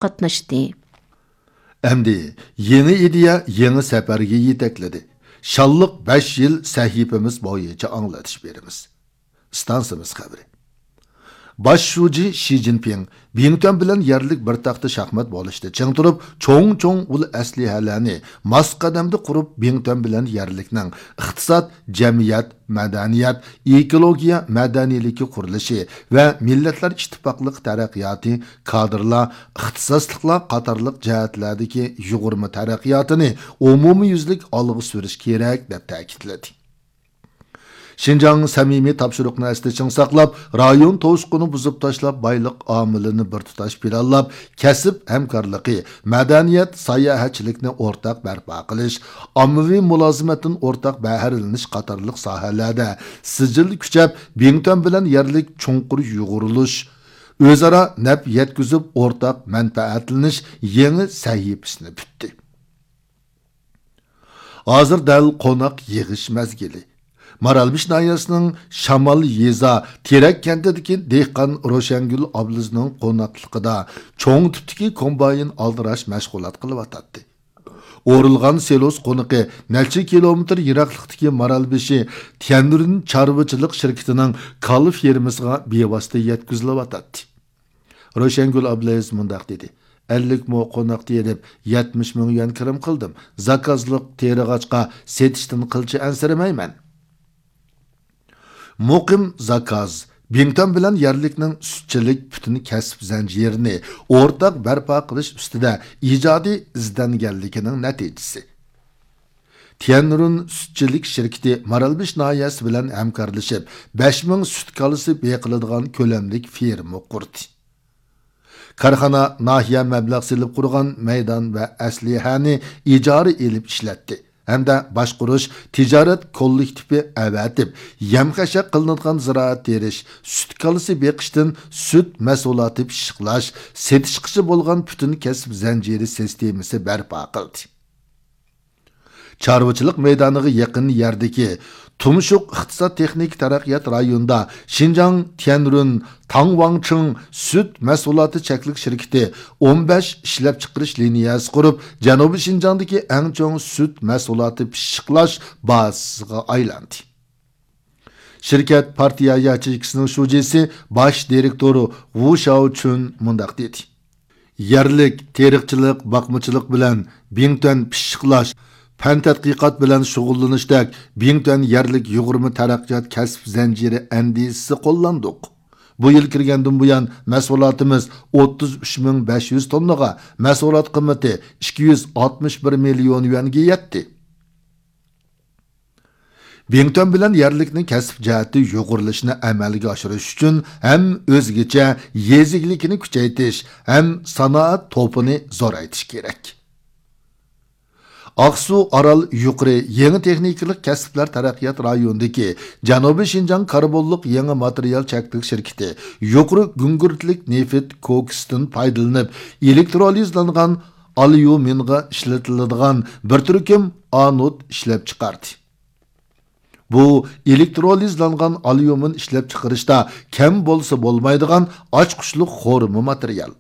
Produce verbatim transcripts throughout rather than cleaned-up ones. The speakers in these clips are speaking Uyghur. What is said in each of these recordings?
قاتناشتى. ئەمدى يېڭى ئىدىيە يېڭى سەپەرگە يېتەكلىدى. شانلىق بەش يىل سەھىپىمىز بويىچە ئاڭلىتىش بېرىمىز. ئىستانسىمىز خەۋىرى. باش شۇجى شى جىنپىڭ بىڭتۈەن بىلەن يەرلىك بىر تەختە شاھمات بولۇشتا چىڭ تۇرۇپ، چوڭ-چوڭ ئۇل ئەسلىھەلەرنى ماس قەدەمدە قۇرۇپ، بىڭتۈەن بىلەن يەرلىكنىڭ ئىقتىساد، جەمئىيەت، مەدەنىيەت، ئېكولوگىيە مەدەنىيلىكى قۇرۇلۇشى ۋە مىللەتلەر ئىتتىپاقلىقى تەرەققىياتى، كادىرلار، ئىختىساسلىقلار قاتارلىق جەھەتلەردىكى يۇغۇرما تەرەققىياتىنى ئومۇميۈزلۈك ئالغا سۈرۈش كېرەك، دەپ تەكىتلىدى. شىنجاڭ سەمىمىي تاپشۇرۇقنى ئەستە چىڭ ساقلاپ، رايون توسۇقىنى بۇزۇپ تاشلاپ، بايلىق ئامىلىنى بىر تۇتاش پىلانلاپ، كەسىپ ھەمكارلىقى، مەدەنىيەت، ساياھەتچىلىكنى ئورتاق بەرپا قىلىش، ئاممىۋى مۇلازىمەتتىن ئورتاق بەھرىلىنىش قاتارلىق ساھەلەردە سىجىل كۈچەپ، بىڭتۈەن بىلەن يەرلىك چوڭقۇر يۇغۇرۇلۇش، ئۆزئارا نەپ يەتكۈزۈپ، ئورتاق مەنپەئەتلىنىش يېڭى سەھىپىسىنى پۈتتى. ھازىر دەل قوناق يىغىش مەزگىلى. مارالبېشى ناھىيەسىنىڭ شامال يېزا تېرەك كەنتىدىكى دېھقان روشەنگۈل ئابلىزنىڭ قوناقلىقىدا چوڭ تىپتىكى كومباين ئالدىراش مەشغۇلات قىلىۋاتاتتى. ئورۇلغان سىلوس قونىقى نەچچە كىلومېتىر يىراقلىقتىكى مارالبېشى تيەنرۈن چارۋىچىلىق شىركىتىنىڭ كالا فېرمىسىغا بىۋاسىتە يەتكۈزۈلۈۋاتاتتى. روشەنگۈل ئابلىز مۇنداق دېدى: «ئەللىك مو قوناق تېرىپ، يەتمىش مىڭ يۈەن كىرىم قىلدىم. زاكازلىق تېرىغاچقا، سېتىشتىن قىلچە ئەنسىرىمەيمەن.» مۇقىم زاكاز، بىڭتۈەن بىلەن يەرلىكنىڭ سۈتچىلىك پۈتۈن كەسىپ زەنجىرىنى ئورتاق بەرپا قىلىش ئۈستىدە ئىجادىي ئىزدەنگەنلىكىنىڭ نەتىجىسى. تيەنرۇن سۈتچىلىك شىركىتى مارالبېشى ناھىيەسى بىلەن ھەمكارلىشىپ، بەش مىڭ سۈت كالىسى بېقىلىدىغان كۆلەملىك فېرما قۇردى. كارخانا ناھىيە مەبلەغ سېلىپ قۇرغان مەيدان ۋە ئەسلىھەنى ئىجارە ئېلىپ ئىشلەتتى ھەمدە باشقۇرۇش تىجارەت كوللېكتىپى ئەۋەتىپ، يەم-خەشەك قىلىنىدىغان زىرائەت تېرىش، سۈت كالىسى بېقىشتىن سۈت مەھسۇلاتى پىششىقلاش، سېتىشقىچە بولغان پۈتۈن كەسىپ زەنجىرى سىستېمىسى بەرپا قىلدى. چارۋىچىلىق مەيدانىغا يېقىن يەردىكى تۇمشۇق ئىقتىساد تېخنىكا تەرەققىيات رايونىدا شىنجاڭ تيەنرۇن تاڭۋاڭچىڭ سۈت مەھسۇلاتى چەكلىك شىركىتى ئون بەش ئىشلەپچىقىرىش لىنىيەسى قۇرۇپ، جەنۇبىي شىنجاڭدىكى ئەڭ چوڭ سۈت مەھسۇلاتى پىششىقلاش بازىسىغا ئايلاندى. شىركەت پارتىيە ياچېيكىسىنىڭ شۇجىسى، باش دىرېكتورى ۋۇ شياۋچۈن مۇنداق دېدى: «يەرلىك تېرىقچىلىق، باقمىچىلىق بىلەن بىڭتۈەن پىششىقلاش، پەن تەتقىقات بىلەن شۇغۇللىنىشتەك بىڭتۈەن يەرلىك يۇغۇرما تەرەققىيات كەسىپ زەنجىرى ئەندىزىسى قوللاندۇق. بۇ يىل كىرگەندىن بۇيان، مەھسۇلاتىمىز ئوتتۇز ئۈچ مىڭ بەش يۈز توننىغا، مەھسۇلات قىممىتى ئىككى يۈز ئاتمىش بىر مىليون يۈەنگە يەتتى.» بىڭتۈەن بىلەن يەرلىكنىڭ كەسىپ جەھەتتە يۇغۇرۇلۇشىنى ئەمەلگە ئاشۇرۇش ئۈچۈن ھەم ئۆزگىچە يېزا ئىگىلىكىنى كۈچەيتىش، ھەم سانائەت توپىنى زورايتىش كېرەك. ئاقسۇ ئارال يۇقىرى يېڭى تېخنىكىلىق كەسىپلەر تەرەققىيات رايونىدىكى جەنۇبىي شىنجاڭ كاربونلۇق يېڭى ماتېرىيال چەكلىك شىركىتى يۇقىرى گۈڭگۈرتلۈك نېفىت كوكسىدىن پايدىلىنىپ، ئېلېكترولىزلانغان ئاليۇمىنغا ئىشلىتىلىدىغان بىر تۈركۈم ئانود ئىشلەپچىقاردى. بۇ ئېلېكترولىزلانغان ئاليۇمىن ئىشلەپچىقىرىشتا كەم بولسا بولمايدىغان ئاچقۇچلۇق خورما ماتېرىيال.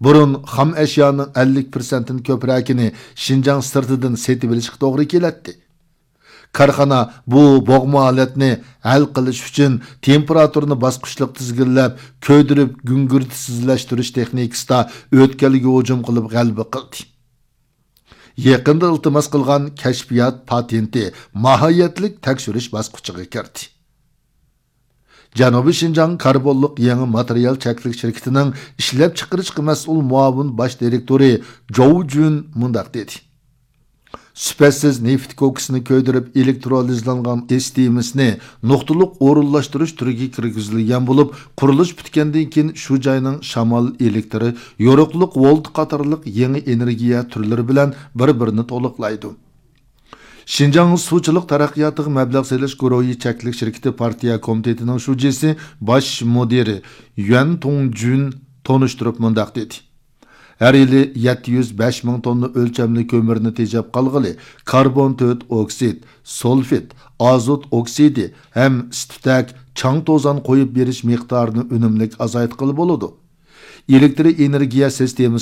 بۇرۇن خام ئەشيانىڭ ئەللىك پىرسەنتتىن كۆپرەكىنى شىنجاڭ سىرتىدىن سېتىۋېلىشقا توغرا كېلەتتى. كارخانا بۇ بوغما ھالەتنى ھەل قىلىش ئۈچۈن تېمپېراتۇرىنى باسقۇچلۇق تىزگىنلەپ، كۆيدۈرۈپ گۈڭگۈرتسىزلەشتۈرۈش تېخنىكىسىدا ئۆتكەلگە ھۇجۇم قىلىپ غەلىبە قىلدى. يېقىندا ئىلتىماس قىلغان كەشپىيات پاتېنتى ماھىيەتلىك تەكشۈرۈش باسقۇچىغا كىردى. جەنۇبىي شىنجاڭ كاربونلۇق يېڭى ماتېرىيال چەكلىك شىركىتىنىڭ ئىشلەپچىقىرىشقا مەسئۇل مۇئاۋىن باش دىرېكتورى جوۋ جۈن مۇنداق دېدى: سۈپەتسىز نېفىت كوكسىنى كۆيدۈرۈپ ئېلېكترولىزلانغان سىستېمىسىنى نۇقتىلىق ئورۇنلاشتۇرۇش تۈرىگە كىرگۈزۈلگەن بولۇپ، قۇرۇلۇش پۈتكەندىن كېيىن شۇ جاينىڭ شامال ئېلېكتىرى، يورۇقلۇق ۋولت قاتارلىق يېڭى ئېنېرگىيە تۈرلىرى بىلەن بىر-بىرىنى تولۇقلايدۇ. شىنجاڭ سۇچىلىق تەرەققىياتىغا مەبلەغ سېلىش گۇرۇھى چەكلىك شىركىتى پارتىيە كومىتېتىنىڭ شۇجىسى، باش مۇدىرى يۈەن تۇڭجۈن تونۇشتۇرۇپ مۇنداق دېدى: ھەر يىلى يەتتە يۈز بەش مىڭ توننا ئۆلچەملىك كۆمۈرنى تېجەپ قالغىلى، كاربون تۆت ئوكسىد، سۇلفىد، ئازوت ئوكسىدى ھەم ئىس-تۈتەك، چاڭ-توزان قويۇپ بېرىش مىقدارىنى ئۈنۈملۈك ئازايتقىلى بولىدۇ. ئېلېكتر ئېنېرگىيە سىستېمىسى